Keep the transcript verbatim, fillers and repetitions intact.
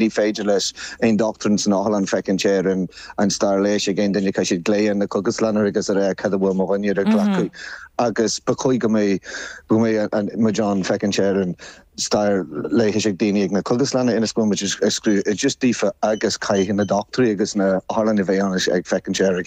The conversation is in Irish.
Ní féidir leis aon dochtúir san otharlann féachaint ar an an stair leighis ag aon duine caithfidh siad glaoch ar na cógaslanna agus a rá cad a bhfuil mo dhuine ag glacadh agus ba chóir go mbeidh go mbeidh muid ann féachaint ar an stair leighis ag daoine ag na cógaslanna ionas go bhfuil muid ag scrúdú just daofa agus caithfidh na dochtúirí agus na hotharlanna bheith ann ag féachaint ar a